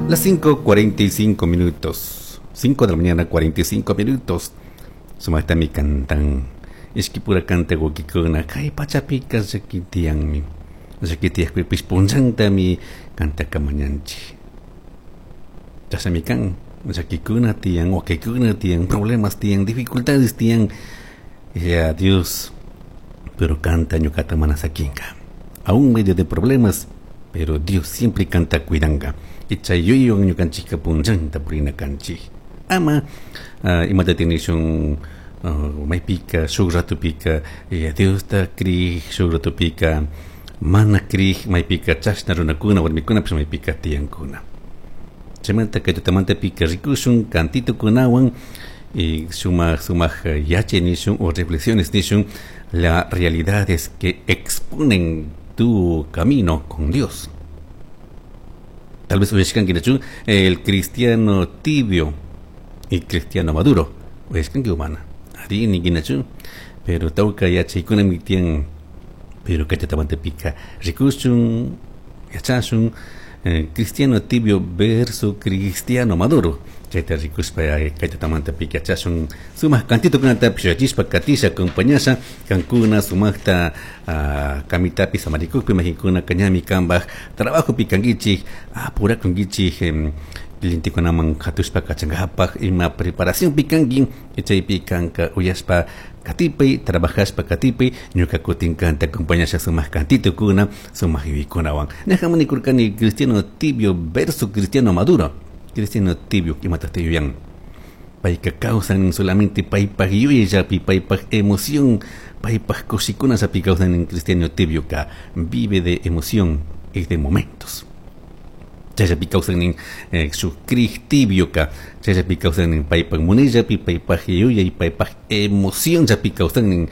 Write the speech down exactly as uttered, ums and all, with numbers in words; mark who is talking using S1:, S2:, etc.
S1: Las cinco cuarenta y cinco minutos. cinco de la mañana, cuarenta y cinco minutos. Sumaqtami cantan. Ishkipura canta wawkikuna. Kay pachapika llaki tiyanmi. Llaki tiyakpipish punllantami kantaka mañanchik. Chashnami kan. Llakikuna tiyan, wakikuna tiyan, problemas tiyan, dificultades tiyan. Ya Dios, pero kanta ñukata mana sakinka. Aún medio de problemas, pero Dios siempre kanta cuidanga. Y chay yuyaywan ñukanchikka punllanta purina kanchik. Ama uh, imata tinishun uh, maypika shuk ratupika eh, Diosta krij, shuk ratupika mana krij, maypika chashna runakuna warmikunapish maypika tiyankuna. Chaymanta kay tutamantapika rikushun cantitukunawan y sumaq sumaq yachay nishun o reflexiones nishun, las realidades que exponen tu camino con Dios. Tal vez uyashkanki el cristiano tibio y cristiano maduro. Uyashkanki humana. Ari nikinachu. Pero tawka yachaykunami tiyan, pero kay tutamantapika rikushun, yachashun eh, cristiano tibio versus cristiano maduro. Chayta rikushpa kay tutamantapika yachashun sumaq cantitukunatapish yachishpa katisha acompañasha kankuna sumaqta uh, kamitapi samarikukpi majinkuna kañami kambaj trabajopi kankichik apurakunkichik eh, clientekunaman katushpa kachankapak ima preparación kanki, chaypi kanka uyashpa katipay, trabajashpa katipay, ñuka kutin kanta acompañasha sumaq cantitukuna sumaq yuyaykunawan. Ñajaman nikurkani cristiano tibio versus cristiano maduro. Cristiano tibio imataq yuyan? Payka kawsan solamente paypaj yuyayllapi, paypaj emoción, paypaj kushikunallapi kawsan. En cristiano tibio ka vive de emoción y de momentos. Chayllapi kawsan eh, shuk krij tibio ka chayllapi kawsan, paypaj munayllapi, paypaj yuyay, paypaj emoción llapi kawsan.